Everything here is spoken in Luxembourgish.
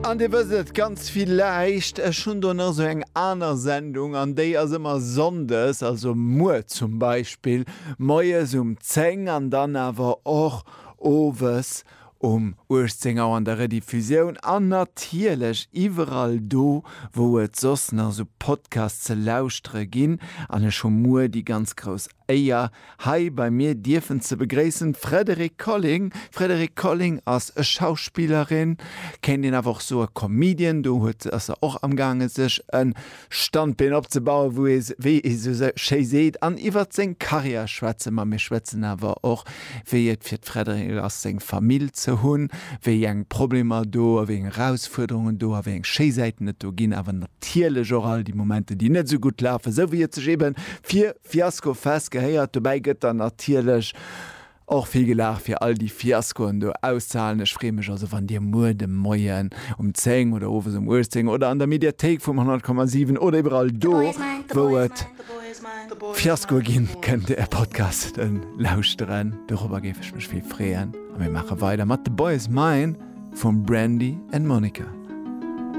An Dir wësst et ganz villäicht, ech hunn do nach esou eng aner Sendung an déi ass ëmmer sonndes, also muer zum Beispill moies um 10 an dann awer och owes um 18 Auer an der Rediffusioun an natierlech iwwerall do, wou et soss nach esou Podcasts ze lauschtere ginn. An ech hu muer déi ganz grouss Éier, hei bei mir dierfen ze begréissen d'Frédérique Colling. D'Frédérique Colling ass e Schauspillerin, kéint een awer och soe Comedian. Do huet, ass se och amgaange sech e Standbeen opzebauen, wou ee, wéi ee sou schéi seet, an iwwert seng Karriär schwätze mer. Mir schwätzen awer och, wéi et fir d'Frédérique ass, seng Famill ze hunn, wéi eng Problemer do a wéi eng Erausfuerderungen do a wéi eng schéi Säiten et do ginn, awer natierlech och all déi Momenter, déi net esou gutt lafen, esou wéi et sech eebe fir Fiasko Fest gehéiert. Dobäi gëtt dann natierlech och vill gelaacht fir all déi Fiaskoen do auszehalen. Ech freeë mech also wann dir muer de Moien um 10 oder owes um 18 oder an der Mediathéik vum 100,7 oder iwwerall do wou et Fiaskoe ginn, kënnt är Podcasten lauschteren. Dorobber géif ech mech vill freeën. A mir maache weider mat The Boy Is Mine vum Brandy and Monica.